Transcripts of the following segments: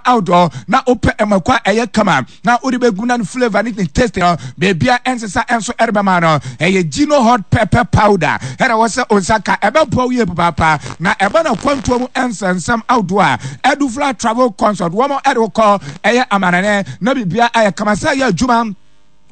Ahodoɔ na wopɛ mako a ɛyɛ kama na wode bɛgu na ne flavour ne ne taste no baabia ɛnsesa ɛnso ɛrebɛma no ɛyɛ Gino hot pepper powder ɛna wɔ sɛ onsa ka ɛbɛboa wo yie papaapa na ɛba no akwantuo mu ɛnsɛnsɛm ahodoɔ a Edufla travel consult wɔn ɛde wokɔ ɛyɛ amanane na biribia ayɛ kama sɛ ɛyɛ adwuma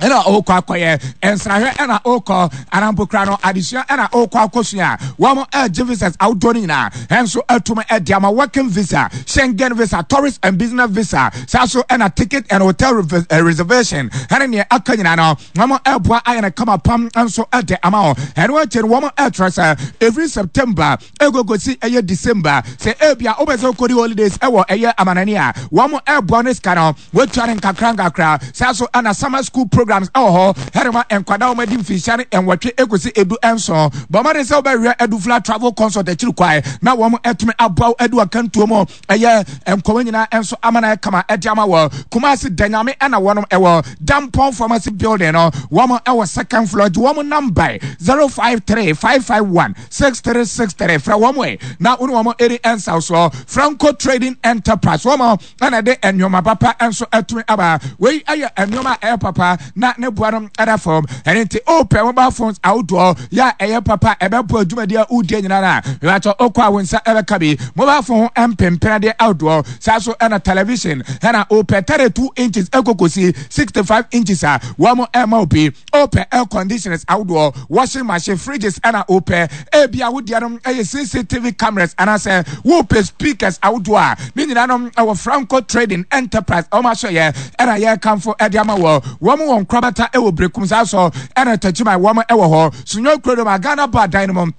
ɛna ɔkɔ akɔyɛ nsrahwɛ ɛna ɔkɔ anampo kura no adesua ɛna ɔkɔ akɔsua wɔn ɛgye visas ahodoɔ no nyinaa ɛnso atum ɛde ama working visa, Schengen visa, tourist and business visa, saa so ɛna ticket and hotel reservation ɛne neɛ aka nyinaa no wɔn ɛboa ayɛ no kama pam nso ɛde ama wɔn. Ɛno akyi no wɔn ɛkyerɛ sɛ ɛfiri September ɛkɔkɔsi ɛyɛ December sɛ ebia wopɛ sɛ wokɔdi holidays ɛwɔ ɛyɛ amanani a wɔn ɛboa no sika no Wotua no nkakrankakra. Saa nso na summer school programs wɔ hɔ de ma nkwadaa a wɔadi mfinhyia ne nwɔtwe kosi 17. Bɔ mmɔden sɛ wobɛhwehwɛ Adufla Travel Consult akyiri kwan na wɔatumi aboa wo adu akantuo mu. Ɛyɛ nkɔmmɔ nyinaa nso ama no ayɛ kama de ama wɔ Kumasi Danyame na wɔnom wɔ Dampɔn Pharmacy Building no, wɔn wɔ second floor. Gye wɔn number 053 551 6363 frɛ wɔn ɛ na wo ne wɔn ɛdi nsawosoɔ. Franco Trading Enterprise wɔn ɛna ɛde nneɛma papa nso atumi aba. Wei yɛ nneɛma a ɛyɛ papa na ne boa no ɛda fam. Ɛno nti wopɛ mobile phones ahodoɔ yɛ a ɛyɛ papa ɛbɛboa dwumadi a wodie nyinaa no a, mebatɔ wokɔ a wo nsa ɛbɛka bi. Mobile phone ho mpempenadeɛ ahodoɔ saa so ɛna television ɛna wopɛ 32 inches ɛkɔkɔsi 65 inches a wɔn ɛma wo bi. Wopɛ air conditioners ahodoɔ, washing machine, fridges ɛna wopɛ. Ebia wo deɛ no ɛyɛ CCTV cameras anaasɛ wopɛ speakers ahodoɔ a, ne nyinaa no ɛwɔ Franco Trading Enterprise wɔn ahyɛyɛ ɛna yɛrekamfo ɛde ama wɔ. Wɔn wɔ nkorabata ɛwɔ Berekum saa so ɛna Takyiman wɔn ɛwɔ hɔ. Sunyani Kurodoma Ghana Bar dan no mu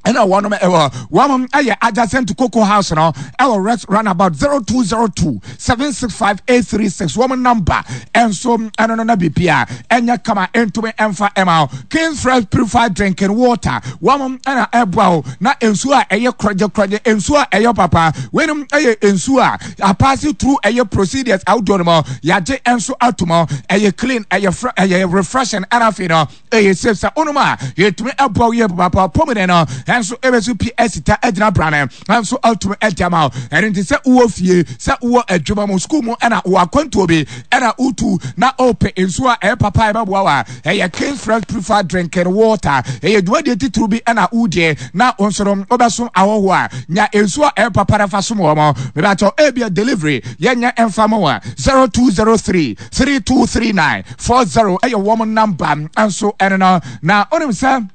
ɛna wɔnom ɛwɔ. Wɔn ɛyɛ adjacent to Cocoa House no ɛwɔ Rex Runabout 0202 765 836 wɔn number ɛnso ɛno no na biribi a ɛnyɛ kama ɛntumi ɛmfa ɛma wo. King's Fresh Purified Drinking Water wɔn ɛna ɛboa wo na nsuo a ɛyɛ korɔgye korɔgye, nsuo a ɛyɛ papa. Weinom ɛyɛ nsuo a apaase through ɛyɛ procedures ahodoɔ no mu yɛagye ɛnso ato mu, ɛyɛ clean, ɛyɛ fre ɛyɛ refreshing, ɛna afei no ɛyɛ safe sɛ wonom a yɛtumi ɛboa wo yie papaapa. Pɔmuden no ɛnso ɛbɛso pi asita agyina brane ɛnso atumi ɛde ama wo. Ɛno nti sɛ wowɔ fie, sɛ wowɔ adwuma mu, sukuu mu, ɛna wɔ akwantuo bi ɛna wotu na wopɛ nsuo a ɛyɛ papa a ɛbɛboa wo a, ɛyɛ King's Fresh Purified Drinking Water. Ɛyɛ dwumadie titiriw bi ɛna wodie na wo nso no wobɛsom ahɔhoɔ a, nya nsuo a ɛyɛ papa na fa som wɔn. Mebatɔ ebia delivery yɛnyɛ ɛmfa ma wo a, 0203 3239 40 ɛyɛ wɔn namba nso ɛno no. Na wonim sɛ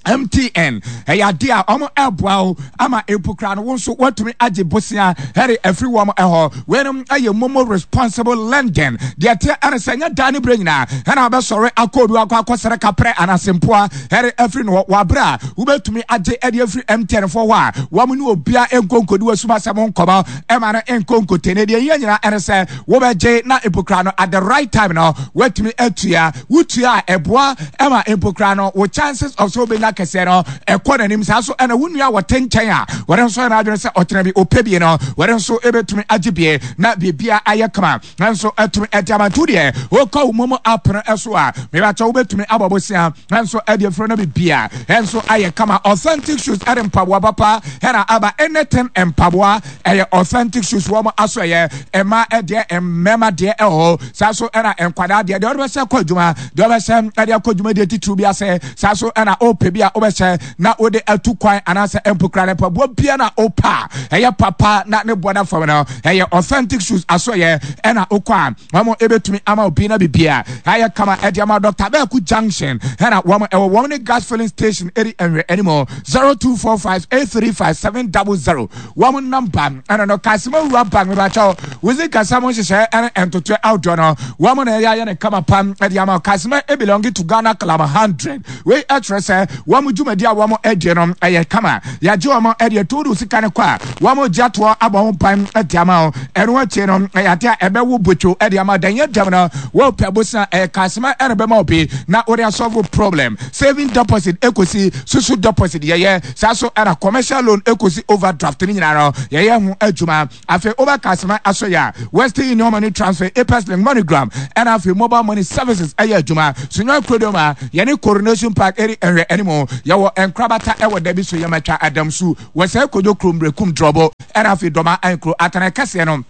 MTN ɛyɛ adeɛ a wɔn ɛboa wo ama mpo koraa no wo nso woatumi agye bosea ɛde afiri wɔn ɛhɔ. Weinom ɛyɛ momo responsible lending. Deɛ ɛteɛ ɛne sɛ nyɛ daa ne berɛ nyinaa ɛna wobɛsɔre akɔ obi akɔ akɔsrɛ kaprɛ anaasɛ mpoa ɛde afiri no hɔ wɔ aberɛ a wobɛtumi agye ɛde afiri MTN foɔ hɔ a wɔn ne obia nkɔ nkɔdi w'asum asɛm nkɔmɔ ɛma no nkɔ nkɔtene. Deɛ ɛhia nyinaa ɛne sɛ wobɛgye na mpo koraa no at the right time no woatumi atua. Wotua a ɛboa ɛma mpo koraa no wo chances of sɛ wobɛnya kɛseɛ no ɛkɔ n'anim. Saa so ɛna wo nua wɔte nkyɛn a wɔde nso yɛ n'adwene sɛ ɔtena bi ɔpɛ bie no wɔde nso ɛbɛtumi agye bie na biribia ayɛ kama nanso ɛtumi ɛde ama. Nti deɛ wokɔ wo momo app no ɛso a mebakyɛ wobɛtumi abɔ bosea nanso ɛde afiri no bibia ɛnso ayɛ kama. Authentic shoes ɛde mpaboa papa ɛna aba. Anything mpaboa ɛyɛ authentic shoes wɔn aso ɛyɛ mmaa ɛdeɛ mmarima deɛ ɛwɔ hɔ. Saa so ɛna nkwadaa deɛ, deɛ ɔde bɛhyɛ kɔ adwuma, deɛ ɔbɛhyɛ ɛde akɔ dwuma deɛ titiriw bi ase. Saa so ɛna ɔpɛ bi a ɔbɛhyɛ na ɔde atu kwan anaasɛ mpokura ne mpaboa bia na ɔpɛ a ɛyɛ papa na ne boɔ da fam no ɛyɛ authentic shoes aso ɛyɛ ɛna ɔkɔ a wɔn ɛbɛtumi ama obi na bibia ayɛ kama ɛde ama. Dr. Bɛɛko Junction ɛna wɔn ɛwɔ wɔn ne gas filling station ɛdi ɛnwɛ anim 0245 835 700 wɔn namba ɛna no. Kasima Wura Bank mebakyɛw wodzi kasa mo nhyehyɛe ɛne ntotoɛ ahodoɔ no wɔn na ɛyɛ ayɛ ne kama pam ɛde ama. Kasima belong to Ghana Club 100. Wei ɛkyerɛ sɛ wɔn dwumadi a wɔn ɛdie no ɛyɛ kama. Yɛagye wɔn ɛde ɛto do sika no kɔ a wɔn gye atoɔ abɔ ho ban ɛde ama wo. Ɛno akyi no ɛyɛ ade a ɛbɛwo botwo ɛde ama dan yɛ dɛm no wɔpɛ bosa ɛyɛ Kasima ɛna bɛma obi na wɔde asolve problem. Saving deposit ekosi susu deposit yɛyɛ saa so ɛna commercial loan ekosi overdraft ne nyinaa no yɛyɛ ho adwuma. Afei wobɛ Kasima aso yɛ a Western Union money transfer, Apex Link, MoneyGram ɛna afei mobile money services ɛyɛ adwuma. Sunyani kurodom a yɛne Coronation Park ɛri ɛhwɛ anim yɛwɔ nkorabata ɛwɔ dabi so yɛmatwa adamsu wɔ sɛ kodwo kurom berekum drɔbo ɛna afei dɔma ankuro atana kɛseɛ no.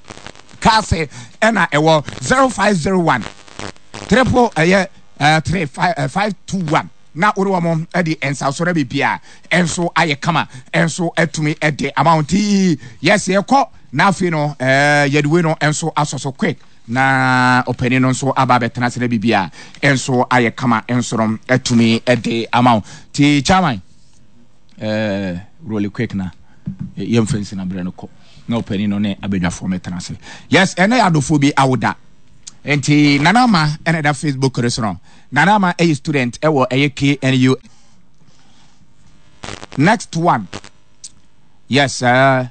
Mukaase ɛna ɛwɔ 0501 triple ɛyɛ 3 5 521 na wode wɔn de nsaso na biribiara nso ayɛ kama nso atumi de ama wo nti yes yɛkɔ na afei no yɛde wei no nso asɔ so quick na ɔpanin no nso aba abɛtena ase na biribiara nso ayɛ kama nso no atumi de ama wo nti chairman ɛɛ roll quick na yɛmfa nsi na berɛ no kɔ na ɔpanin no ne abadwafoɔ mɛtena ase yes ɛnɛ yɛ adɔfoɔ bi awoda nti nana ama ɛna ɛda facebook no so no nana ama ɛyɛ student ɛwɔ ɛyɛ knu next one yes uh,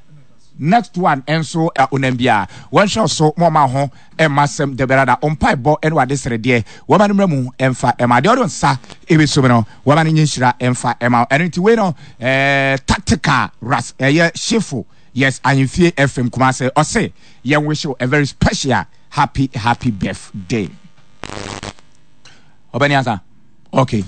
Next one nso a onam bi a wɔnhwɛ so ma ɔma ho mma asɛm da biara da mpaebɔ ne wade srɛdeɛ wɔma no mmra mu mfa ɛma deɛ ɔde nsa ɛbɛsom no wɔma no nyɛ nhyira mfa ɛma ɛno nti wei no eh, tactical ras ɛyɛ shefo yes ahemfie fm kumase ɔse yɛn wish you a very special happy happy birthday ɔbɛni asa okay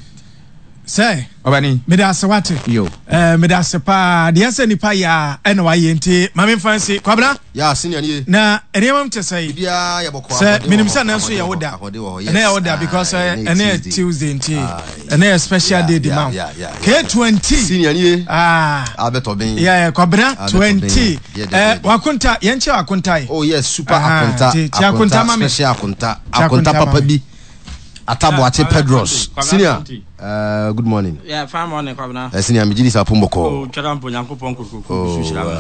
sɛ ɔbɛni mede ase wate yo eh, mede ase paa deɛ sɛ nipa yɛ a ɛna wayɛ nti ma memfa nsi kwabena ya senior nie na nneɛma m te sɛ biribiara yɛ bɔkɔ sɛ menim sɛ ɛnɛ nso yɛ wo da ɛnɛ yɛ wo da because eh, ɛnɛ yɛ tuesday nti ɛnɛ yɛ special day di ma wo k20 senior nie ah abɛtɔ ben yeah kwabena 20 eh, wakonta yɛnkyɛ wakonta yi oh yes super akonta akonta special akonta akonta papa bi Ataboakye Pedros. Senior, good morning. Yeah, fine morning, Kwabena. Senior, me gidi sa pombo ko. Oh, twada mpo nyankopɔn kokoko oh, so hyira me.